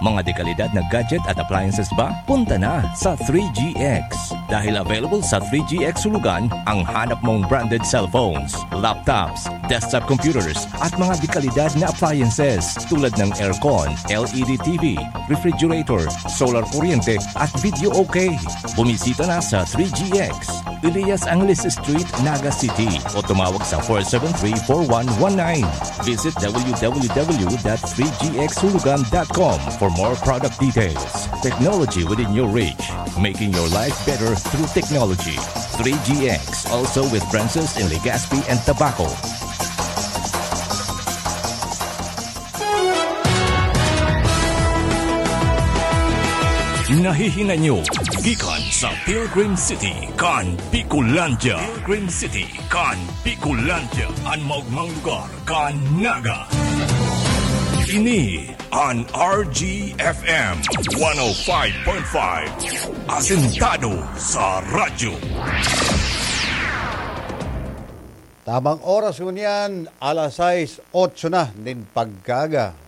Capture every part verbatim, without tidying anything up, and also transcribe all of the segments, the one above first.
Mga dekalidad na gadget at appliances ba? Punta na sa three G X. Dahil available sa three G X Hulugan ang hanap mong branded cellphones, laptops, desktop computers, at mga dekalidad na appliances tulad ng aircon, L E D T V, refrigerator, solar kuryente, at video okay. Bumisita na sa three G X, Elias Angeles Street, Naga City, o tumawag sa four seven three, four one one nine. Visit w w w dot three g x hulugan dot com for more product details. Technology within your reach, making your life better through technology. Three G X, also with branches in Legazpi and Tabaco. Nahihinay nyo gikan sa Pilgrim City kan Bicolandia. Pilgrim City kan Bicolandia, an maogmang lugar kan Naga. Ini an R G F M one oh five point five, asentado sa radyo. Tamang oras ngunyan, alas sais, otso na nin pagkaaga.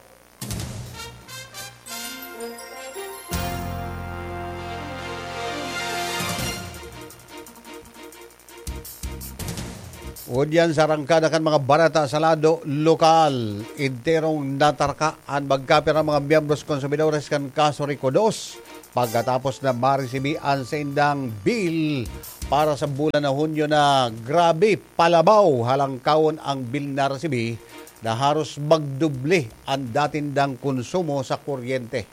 Ngunyan sa arangkada kan mga bareta sa lado lokal, enterong natarka an magkapirang mga miyembros konsumidores kan Kaso Rico dos pagkatapos na maresibi an saindang bill para sa bulan na Hunyo na grabe, palabaw, halangkawon ang bill na resibi na haros magdoble an datindang konsumo sa kuryente.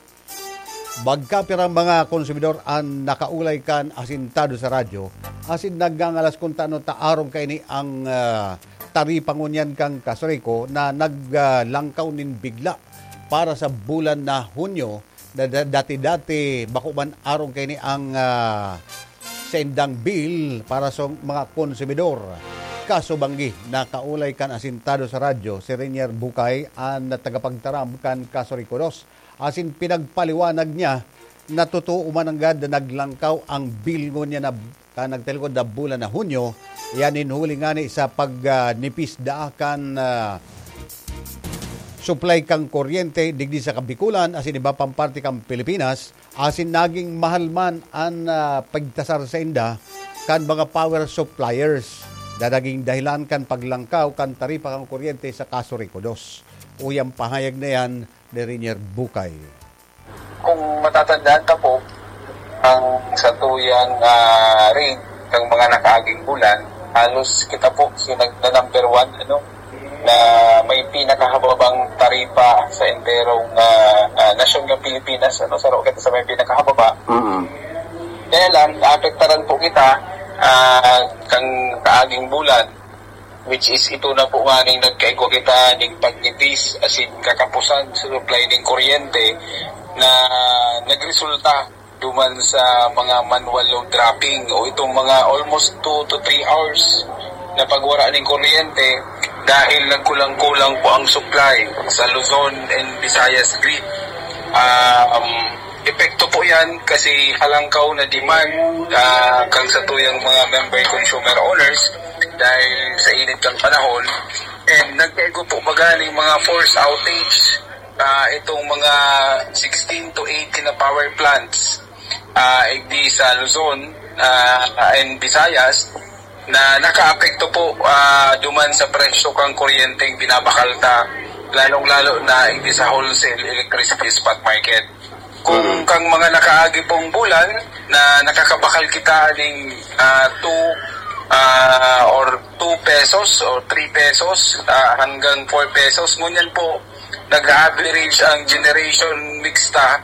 Magkapirang mga konsumidor an nakaulay kan asintado sa radyo asin nagngangalas kun tano ta arog kaini ang, ah, taripa ngunyan kan Kaso Rico na naglangkaw nin bigla para sa bulan na Hunyo na da-, dati-dati bako man arog kaini ang, ah, saindang bill para sa mga konsumidor. Kasubanggi, nakaulay kan asintado sa radyo si Renier Bucay, an tagapagtaram kan Kaso Rico dos. Asin pinagpaliwanag niya na totoo man nanggad na naglangkaw ang bill ngunyan na, kan nagtalikod na bulan na Hunyo, iyan nin huli ngani sa pag, ah, nipis daa kan, ah, supply kan kuryente digdi sa Kabikulan asin iba pang parte kan Pilipinas, asin naging mahal man an, ah, pagtasar sainda kan mga power suppliers na naging dahilan kan paglangkaw kan taripa kan kuryente sa Kaso Rico dos. Uya an pahayag na iyan ni Renier Bucay. Kung matatandaan ta po, ang satuyang, ah, rate ng mga nakaaging bulan, halos kita po si nag-, na number one, ano, na may pinakahababang taripa sa enterong, ah, ah, nasyon ng Pilipinas, ano, saro kita sa may pinakahababa. Mm. Kaya lang, naapektaran po kita, ah, kang kaaging bulan, which is ito na po nga ning nagkaigwa kita ning pagnipis asin kakapusan sa supply ning kuryente na nagresulta duman sa mga manual load dropping o itong mga almost two to three hours na pagwara ning kuryente dahil nagkulang-kulang po ang supply sa Luzon and Visayas grid. Ah, um, epekto po yan kasi halangkaw na demand, ah, kang satuyang mga member consumer owners dahil sa init ng panahon. And nagkaigo po magaling mga forced outage, ah, itong mga sixteen to eighteen na power plants, ah, igdi sa Luzon, ah, and Visayas na nakaapekto po, ah, duman sa presyo kang kuryenteng binabakal ta, lalong-lalo na igdi sa wholesale electricity spot market. Kung Mm. kang mga nakaagi pong bulan na nakakabakal kita ning, ah, two, ah, or two pesos or three pesos, ah, hanggang four pesos, ngunyan po, nag-average ang generation mix ta,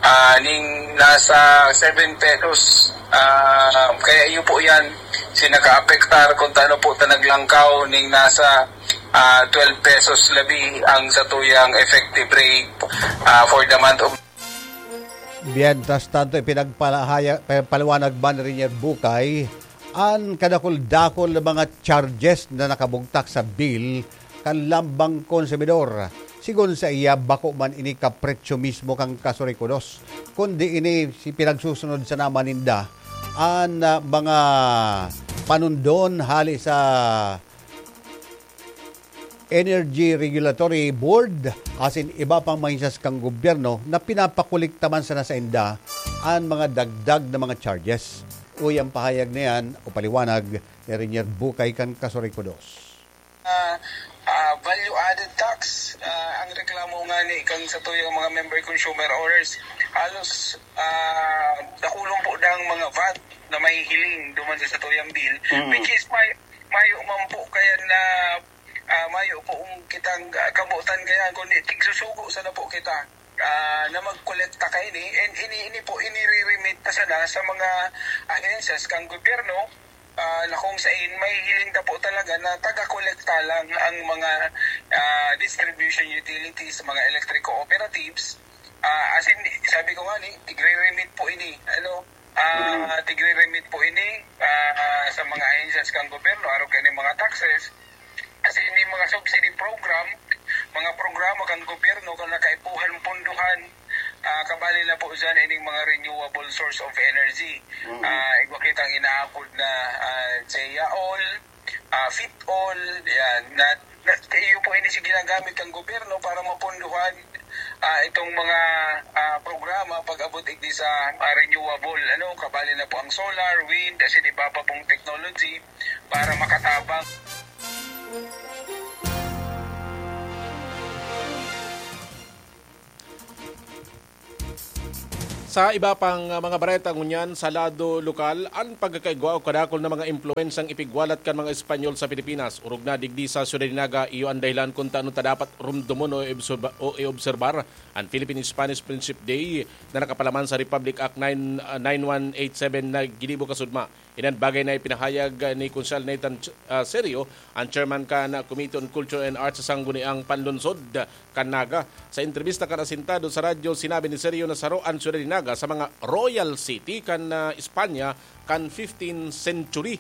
ah, ning nasa seven pesos. Ah, kaya iyo po yan, si nakaapektar kung tano po ta naglangkaw ning nasa, ah, twelve pesos labi ang satuyang effective rate, ah, for the month of Mientras tanto, ipinagpalahaya-, pinagpaliwanag man ni Renier Bucay an kadakul-dakul na mga charges na nakabugtak sa bill kan lambang konsumidor. Sigon sa iya, bako man ini kapretsyo mismo kan Kaso Rico dos, kundi ini si pinagsusunod sana man ninda an, ah, mga panundon hali sa Energy Regulatory Board asin iba pang mga ahensyas kan gobyerno na pinapakolekta man sana sainda an mga dagdag na mga charges. Uya an pahayag na yan o paliwanag ni Renier Bukay kan Kasuray ko dos. Ah, ah, value added tax, ah, ang reklamo nga ni kan satuyang mga member consumer owners, halos, ah, dakulon po dang mga vat na mahihiling duman sa satuyang bill, Mm. which is may, mayo man po kaya na, ah, mayo po ang kitang, ah, kabutan kaya, kundi tigsusugo sana po kita, ah, na magkolekta kaini. And ini, ini po, inire-remit pa sana sa mga ahensya kan gobyerno, ah, na kung sain mahihiling ta po talaga na taga-kolekta lang ang mga, ah, distribution utilities, mga electric cooperatives. Ah, as in, sabi ko nga ni, tigre-remit po ini, ano, ah, Mm. tigre-remit po ini, ah, sa mga ahensyas kan gobyerno, arog kan mga taxes. As in, may mga subsidy program, mga programa kan gobyerno kan nakaipuhan punduhan, ah, kabali na po dyan ining mga renewable source of energy. Mm. Ah, igwa kitang inaapod na, ah, JEA-OL, ah, FIT-OL, yan. Na, na, iyo po ini si ginagamit ng gobyerno para mapunduhan, ah, itong mga, ah, programa pag-abot igdi sa, ah, renewable, ano, kabali na po ang solar, wind, as in iba pa pong technology para makatabang. Sa iba pang, ah, mga bareta ngunyan sa lado lokal, an pagkakaigwa o kadakul na mga impluwensyang ipigwalat kan mga Espanyol sa Pilipinas, orog na digdi sa Ciudad de Naga, iyo an dahilan kun tano ta dapat rumdomon o iobserba-, o iobserbar an Philippine-Spanish Friendship Day na nakapalaman sa Republic Act nine, ah, nine one eight seven na ginibo kasudma. Inan bagay na ipinahayag ni Konsehal Nathan Ch-, ah, Serio, ang chairman kan Committee on Culture and Arts sa Sangguniang Panlungsod kan Naga. Sa entrebista kan Asintado sa radyo, sinabi ni Serio na saro an siyudad ni Naga sa mga royal city kan, ah, Espanya kan fifteenth century.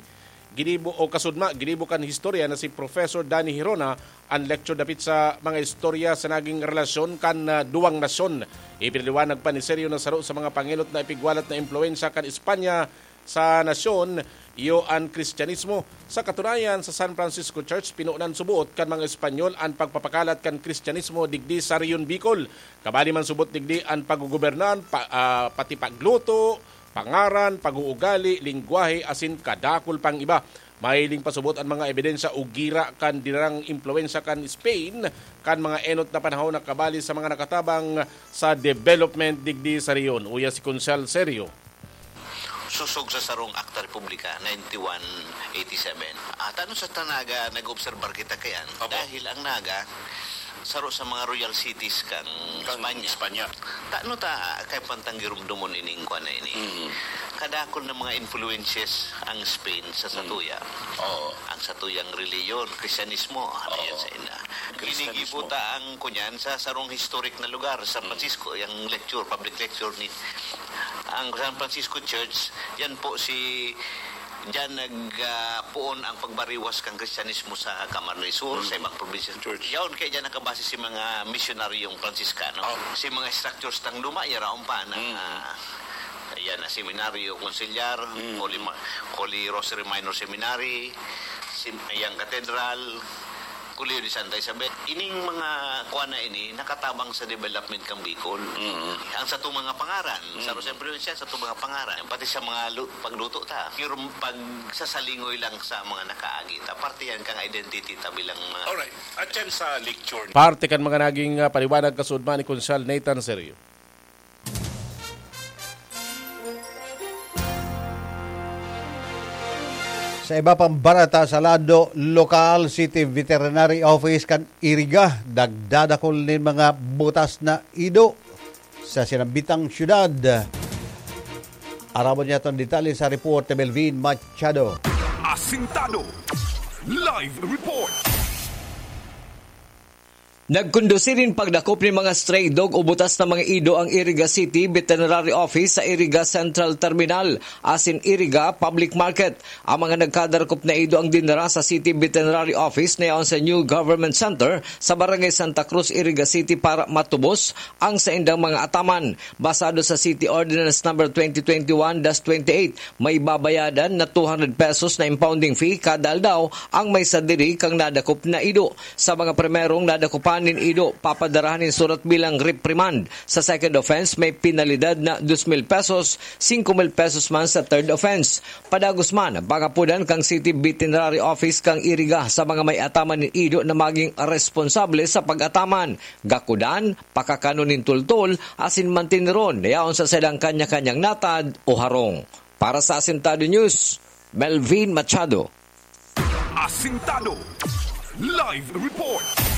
Ginibo o kasudma, ginibo kan historia na si Professor Danny Hirona ang lecture dapit sa mga istorya sa naging relasyon kan, ah, duwang nasyon. Ipinaliwanag pa ni Serio na saro sa mga pangenot na ipigwalat na impluwensya kan Espanya sa nasyon, iyo an Kristiyanismo. Sa katunayan, sa San Francisco Church, pinunan suboot kan mga Espanyol an pagpapakalat kan Kristiyanismo digdi sa Rehiyon Bicol. Kabali man subot digdi an paggugobernan, pa-, ah, pati pagluto, pangaran, pag-uugali, lengwahe, asin kadakul pang iba. Mahiling pasubot an mga ebidensya o gira kan dinarang impluwensya kan Spain kan mga enot na panahon na kabali sa mga nakatabang sa development digdi sa rehiyon. Uya si Konsehal Serio. Sosog sa sarong Akta Republika, ninety-one eighty-seven. Ah, tano sa ta Naga nag-obserbar kita kayan? Opo. Dahil ang Naga, saro sa mga royal cities kan Kan Espanya. Espanya. Tano ta kay pantang girumdomon ining kwan na ini? Mm. Kadakul na mga influences ang Spain sa Mm. satuya. Oo. Ang satuyang reliyon, Kristiyanismo, ano Oo. yan sa ina? Kristiyanismo. Ginigibo ta ang kunyan sa sarong historic na lugar, San Mm. Francisco, yung lecture, public lecture ni ang San Francisco Church, yan po si, diyan nag, ah, puon ang pagbariwas kan Kristiyanismo sa Camarines Sur, Mm. sa ibang probinsya. Church. Yaon kaya diyan nakabase si mga misyonaryong Fransiskano. Oh. Si mga structures tang luma, yaraon pa na, Mm. ah, yan na seminaryo, konsilyar, Mm. Holy Ma-, Holy Rosary Minor Seminary, si, yang katedral, Colegio de Santa Isabel. Ining mga kuan na ini, nakatabang sa development kan Bicol. Mm. Ang satong mga pangaran, Mm. sa Roseng Provincial, satong mga pangaran, pati sa mga lu-, pagluto ta. Pero pagsasalingoy lang sa mga nakaagi ta, parte yan kang identity ta bilang mga Alright. At yan sa lecture. Parte kan mga naging, ah, paliwanag kasudma ni Konsehal Nathan Serio. Sa iba pang bareta sa lado lokal, City Veterinary Office kan Iriga, nagdadakul nin mga butas na ido sa sinambitang syudad. Aramon niya itong detalye sa report ni Melvin Machado. Asintado. Live report. Nagkondusir nin pagdakop nin mga stray dog o butas na mga ido ang Iriga City Veterinary Office sa Iriga Central Terminal asin Iriga Public Market. Ang mga nagkadarakop na ido ang dinara sa City Veterinary Office na yaon sa New Government Center sa Barangay Santa Cruz, Iriga City para matubos ang saindang mga ataman. Basado sa City Ordinance Number twenty twenty-one dash twenty-eight, may babayadan na two hundred pesos na impounding fee kada aldaw ang may sadiri kan nadakop na ido. Sa mga primerong nadakupan nin ido, papadarahan nin surat bilang reprimand. Sa second offense, may penalidad na dos mil pesos, singko mil pesos man sa third offense. Padagos man, pangapodan kan City Veterinary Office kan Iriga sa mga may ataman nin ido na magin responsable sa pag-ataman, gakodan, pakakanon nin tultol, asin manteneron na yaon sa saindang kanya-kanyang natad o harong. Para sa Asintado News, Melvin Machado. Asintado. Live report.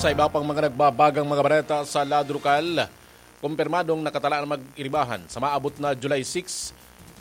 Sa iba pang mga nagbabagang mga bareta sa lado lokal, kumpirmadong nakatalaan mag-iribahan sa maabot na July six,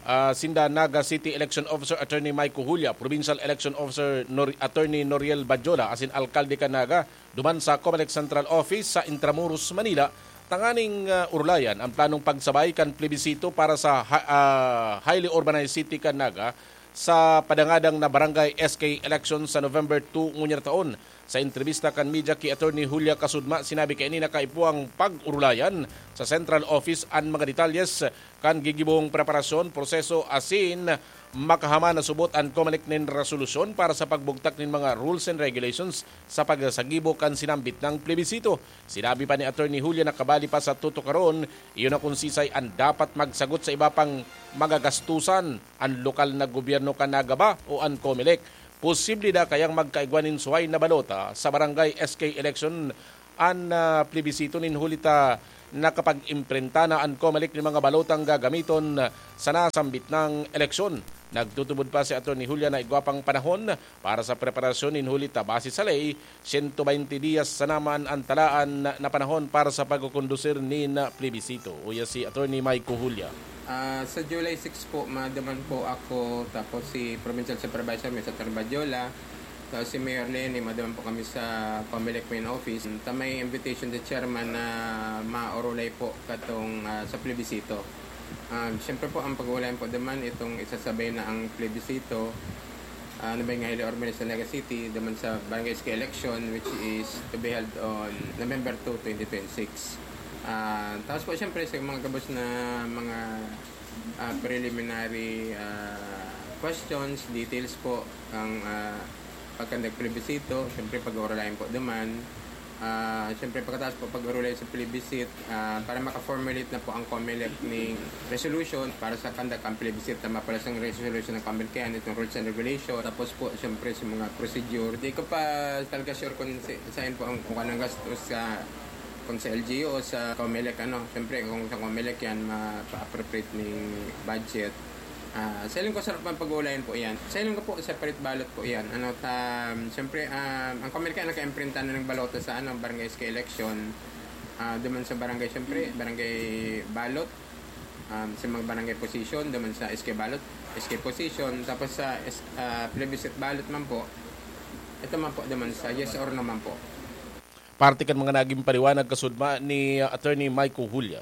ah, sinda Naga City Election Officer Attorney Mike Cujulia, Provincial Election Officer Nor-, Attorney Noriel Badjola, asin Alkalde kan Naga, duman sa Comelec Central Office sa Intramuros, Manila, tanganing, ah, urulayan ang planong pagsabay kan plebisito para sa ha-, ah, highly urbanized city kan Naga sa padangadang na barangay S K election sa November two ngunyan na taon. Sa entrebista kan media ki Attorney Julia Kasudma, sinabi kaini na kaipuhang pag-urulayan sa Central Office an mga detalyes kan gigibong preparasyon, proseso asin makahaman na subot an Comelec nin resolusyon para sa pagbugtak nin mga rules and regulations sa pagsagibo kan sinambit na plebisito. Sinabi pa ni Attorney Julia na kabali pa sa tutukaron, iyo na kun sisay an dapat magsagot sa iba pang magagastusan, an lokal na gobyerno kan Naga ba o an Comelec. Posible na kayang magkaigwa nin suhay na balota sa barangay S K election an, ah, plebisito nin huli ta nakapag-imprinta na an Comelec nin mga balotang gagamiton sa nasambit na eleksyon. Nagtutubod pa si Attorney Julia na igwa pang panahon para sa preparasyon nin huli ta base sa ley, siyento baynte diyas sana man an talaan na panahon para sa pagkukondusir nin plebisito. Uya si Attorney Mike Cujulia. Ah, sa July six po, maduman po ako, tapos si Provincial Supervisor, Mister Badjola, tapos si Mayor Leni, maduman po kami sa Comelec main office. Ta may invitation sa chairman na maurulay po katong, ah, sa plebisito. Ah, siyempre po, ang pag-uulayan po duman, itong isasabay na ang plebisito, ah, ano ba yung highly urbanized sa Naga City, duman sa Barangay S K election, which is to be held on November two, twenty twenty-six. Ah, tapos po, siyempre, sa mga gabos na mga, ah, preliminary, ah, questions, details po, ang, ah, pagkandak plebisito, siyempre, pag-uurulayan po duman. Ah, siyempre, pagkatapos po, pag-urulay sa plebiscite, ah, para maka-formulate na po ang Comelec ning resolution para sa conduct ang plebiscite, tama pala sa resolution ng Comelec yan, itong rules and regulation. Tapos po, siyempre, sa mga procedure, di ko pa talaga sure kung si, saan po ang, kung anong gastos sa, kung sa L G U o sa Comelec, ano. Siyempre, kung sa Comelec yan, mapa-appropriate ning budget. Ah, sa ilang ko sarap ang pag-uulayan po yan. Sa ilang ko po, separate ballot po yan. Ano, ta, siyempre, ah, ang Comelec naka-imprinta na ng balota sa, ano, barangay S K election. Ah, duman sa barangay, siyempre, barangay ballot. Um, sa mga barangay position, duman sa S K ballot, S K position. Tapos sa S-, ah, plebiscite ballot man po, ito man po, duman sa yes or no man po. Parte kan mga naging paliwanag kasudma ni, ah, Attorney Mike Cujulia.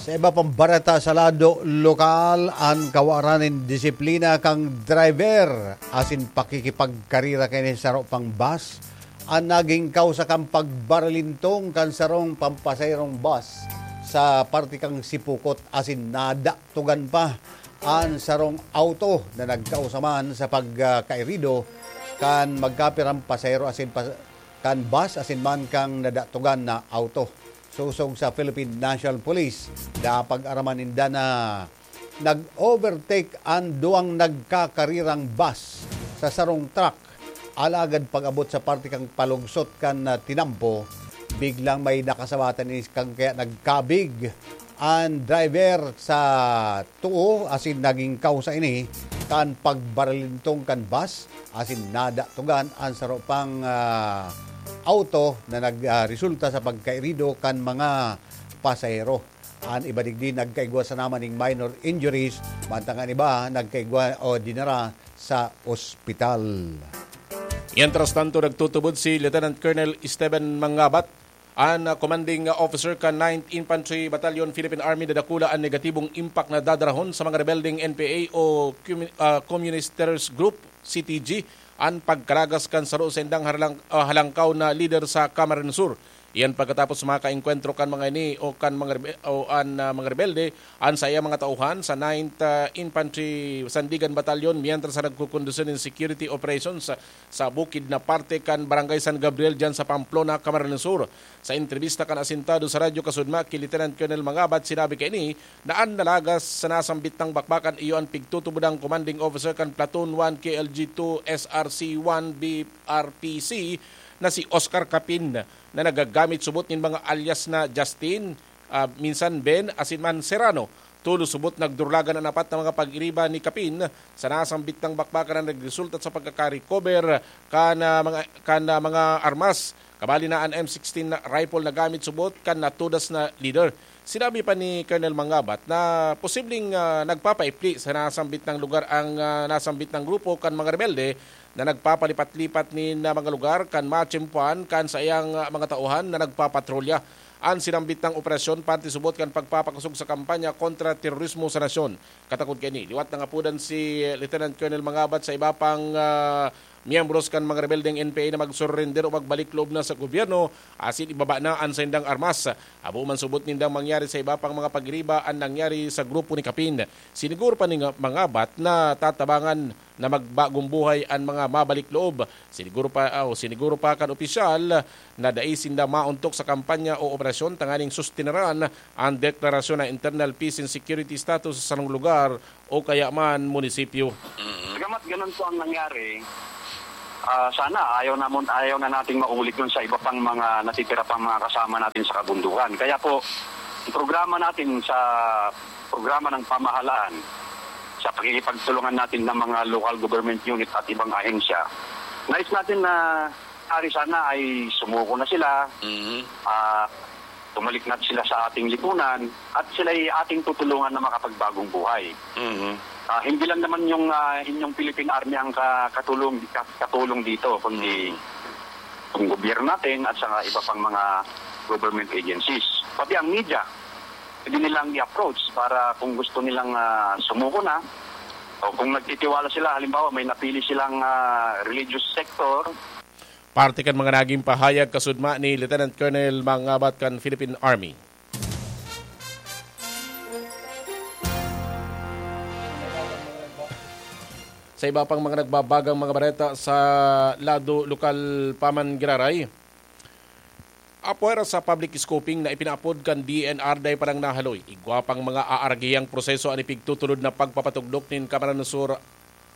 Sa iba pang bareta sa lado lokal, an kawaran nin disiplina kan driver asin pakikipagkarira kan saro pang bus an nagin kausa kan pagbaralintong kan sarong pampasaherong bus sa parte kan Sipocot asin nadaktugan pa an sarong auto na nagkausa man sa pagkairido kan magkapirang pasahero asin pa-, kan bus asin man kan nadaktugan na auto. Sosog sa Philippine National Police, napag-araman ninda na nag-overtake an duwang nagkakarirang bus sa sarong truck. Alagad pag-abot sa parte kan palugsot kan, ah, tinampo, biglang may nakasabatan ini kan kaya nagkabig an driver sa too asin nagin kausa ini kan pagbaralintong kan bus asin nadaktugan an saro pang, ah, auto na nag, ah, resulta sa pagkairido kan mga pasahero. An iba digdi nagkaigwa sana man ning minor injuries, mantang an iba nagkaigwa o dinara sa ospital. Mientras tanto, nagtutubod si Lieutenant Colonel Esteban Mangabat, an, ah, commanding officer kan Ninth Infantry Battalion, Philippine Army, na dakula an negatibong impact na dadarahon sa mga rebeldeng N P A o Commu-, ah, Communisters Group, C T G, an pagkalagas kan saro sa indang harlang-, ah, halangkaw na lider sa Camarines Sur. Iyan pagkatapos makaengkwentro kan mga ini o kan mga rebe-, o an, ah, mga rebelde, an saiyang mga tauhan sa Ninth, ah, Infantry Sandigan Battalion, mientras na nagkukondusi nin security operations sa, sa bukid na parte kan Barangay San Gabriel diyan sa Pamplona, Camarines Sur. Sa entrebista kan asintado sa Radyo Kasudma ki Lieutenant Colonel Mangabat, sinabi kaini na an nalagas sa nasambit nang bakbakan iyo an pigtutubodang commanding officer kan Platoon one K L G two S R C one B R P C na si Oscar Capin, na nagagamit subot nin mga alias na Justin, ah, minsan Ben, asin man Serrano. Tolos subot nagdurlagan an apat na mga pag-iriba ni Capin sa nasambit nang bakbakan na nagresulta sa pagkaka-recover kan, ah, mga, kan, ah, mga armas. Kabali na an M sixteen na rifle na gamit subot kan natudas na lider. Sinabi pa ni Colonel Mangabat na posibleng, ah, nagpapaipli sa nasambit nang lugar ang, ah, nasambit nang grupo kan mga rebelde na nagpapalipat-lipat nin, ah, mga lugar kan matiyempuhan kan saiyang, ah, mga tauhan na nagpapatrolya. An sinambit nang operasyon parte subot kan pagpapakosog sa kampanya kontra terorismo sa nasyon. Katakod kaini, liwat nangapodan si Lieutenant Colonel Mangabat sa iba pang, ah, miyembros kan mga rebeldeng N P A na magsurrender o magbalik loob na sa gobyerno asin ibaba na an saindang armas. Habo man subot nindang mangyari sa iba pang mga pagiriba an nangyari sa grupo ni Capin. Siniguro pa ni nga-, Mangabat na tatabangan na magbagong buhay an mga mabalik loob. Siniguro pa, o siniguro pa kan opisyal na dai sinda maontok sa kampanya o operasyon tanganing sustenaran an deklarasyon na internal peace and security status sa sarong lugar o kaya man munisipyo. Bagamat ganun po ang nangyari, ah, sana ayaw namon, ayaw na nating maulit dun sa iba pang mga natitira pang mga kasama natin sa kabundukan. Kaya po, ang programa natin sa programa ng pamahalaan, sa pakikipagtulungan natin ng mga local government unit at ibang ahensya, nais natin na ari sana ay sumuko na sila, Mhm. ah, tumalik na sila sa ating lipunan at sila'y ating tutulungan na makapagbagong buhay. Mhm. Ah, hindi lang naman yung, ah, inyong Philippine Army ang ka-, katulong, ka-, katulong dito, kundi Mhm. yung gobyerno natin at saka iba pang mga government agencies. Pati ang media, pwede nilang i-approach para kung gusto nilang, ah, sumuko na o kung nagtitiwala sila, halimbawa may napili silang, ah, religious sector. Parte kan mga naging pahayag kasudma ni Lieutenant Colonel Mangabat kan Philippine Army. Sa iba pang mga nagbabagang mga bareta sa lado lokal pa man giraray, apwera sa public scoping na ipinaapod kan D N R dai pa nang nahaloy. Igwa pang mga aaragihang proseso an ipigtutulod na pagpapatugdok nin Camarines Sur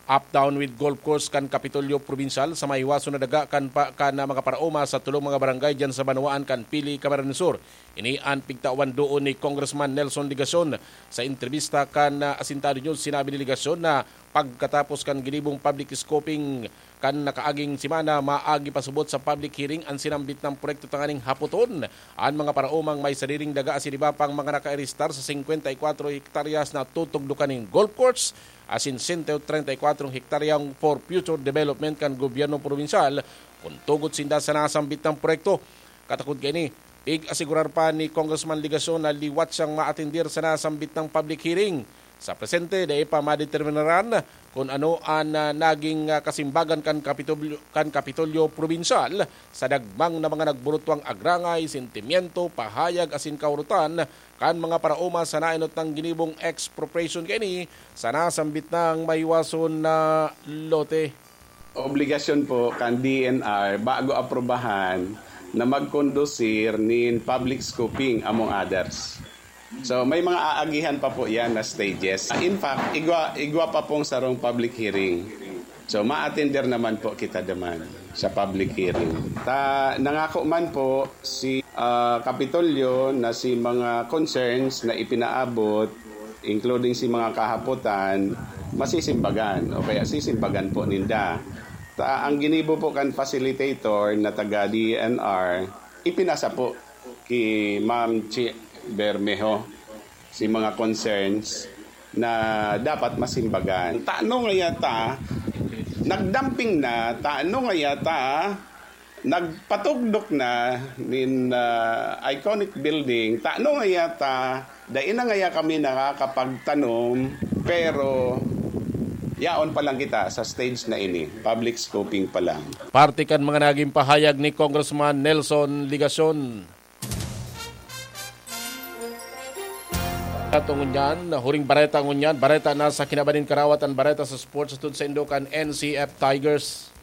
Up Down with Golf Course kan Kapitolyo Probinsyal sa mahiwason na daga kan pa, kan mga paraoma sa tulong mga barangay diyan sa banwaan kan Pili, Camarines Sur. Ini an pigtawan doon ni Congressman Nelson Legacion. Sa entrebista kan, ah, Asintado News, sinabi ni Legacion na pagkatapos kan ginibong public scoping kan nakaaging semana, maagi pasubot sa public hearing an sinambit na proyekto tanganing hapoton an mga paraomang may sariring daga asin iba pang mga nakaeristar sa singkwenta y kwatro hektaryas na tutugdokan nin golf course asin sento treinta y kwatro hektaryang for future development kan gobyerno probinsyal kun tugot sinda sa nasambit na proyekto. Katakod kaini, pig-asigurar pa ni Congressman Legacion na liwat siyang maatender sa nasambit na public hearing. Sa presente, dai pa madeterminaran kun ano an, ah, naging, ah, kasimbagan kan Kapitolyo, kan Kapitolyo Probinsyal sa dagmang na mga nagburutwang agrangay, sentimiento, pahayag asin kahurotan kan mga paraoma sa naenot nang ginibong expropriation kaini sa nasambit nang mahiwason na lote. Obligasyon po kan D N R bago aprubahan na magkondusir nin public scoping, among others. So, may mga aagihan pa po yan na stages. In fact, igwa, igwa pa pong sarong public hearing. So, ma-attender naman po kita duman sa public hearing. Ta, nangako man po si, ah, Kapitolyo na si mga concerns na ipinaabot, including si mga kahapotan, masisimbagan o kaya sisimbagan po ninda. Ta, ang ginibo po kan facilitator na taga D N R, ipinasa po ki Ma'am Chi Bermejo. si mga concerns na dapat masimbagan. Tano nga yata, nagdamping na, tano nga yata, nagpatugdok na nin ah, iconic building, tano nga yata, dai na ngaya kami nakakapagtanom, pero yaon pa lang kita sa stage na ini, public scoping pa lang. Parte kan mga naging pahayag ni Congressman Nelson Legacion. Ato ngunyan, huring bareta ngunyan, bareta na sa kinabaning karawat an bareta sa sports atod sa indo kan N C F Tigers.